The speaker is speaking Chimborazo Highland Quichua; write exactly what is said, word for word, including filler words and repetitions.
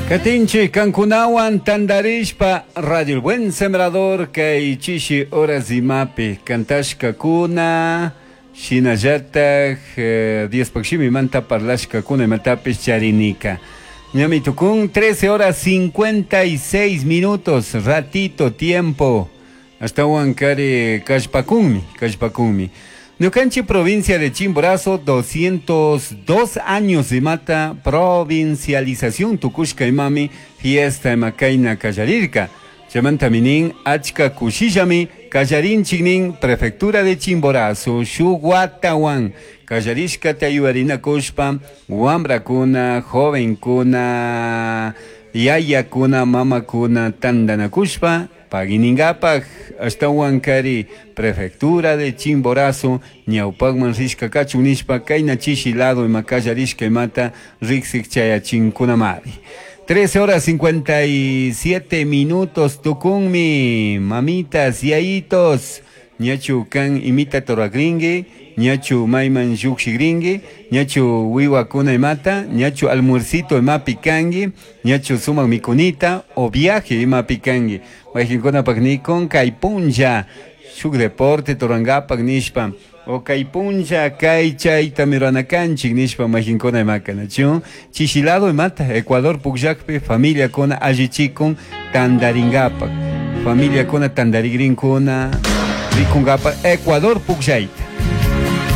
Katinchik kankunawan tandarishpa Radio El Buen Sembrador kay chishi horas imapi kantashkakuna shinallatak eh, Diospaj shimimanta parlashkakuna imatapish charinika. Ñami tukun trece horas cincuenta y seis minutos, ratito tiempo. Ashtawan kari kallpakunmi, kallpakunmi. Ñukanchik provincia de Chimborazo, doscientos dos años de mata provincialización tukushka imami fiesta imakaina kallarirka. Chaymanta minin achka kushillami kallarinchik prefectura de Chimborazo, shuwatawan kallarishka tayuarinakushpa wambrakuna, jovenkuna, yayakuna, mamakuna tandanakushpa paginingapak ashtawan kari prefectura de Chimborazo ñawpakman rishka kachun nishpa kayna chishi lado ima kallarishka imata riksik chayachinkunamari. trece horas cincuenta y siete minutos tukunmi, mamitas, yayitos, ñachu kan imita toragringue, ñachu mayman llukshigringue, ñachu wiwakuna imata, ñachu almuercito imapi kangi, ñachu sumak mikunita o viaje imapi kangi. Mayqinkunapak nikun kay punlla shuk deporte torangapak nishpa o kay punlla kay chayta miranakanchik nishpa mayqinkuna imaka nachu chishilado imata Ecuador pukllakpi familiakuna allichikun tandaringapak familiakuna tandarigrinkuna rikungapak Ecuador pukllayta.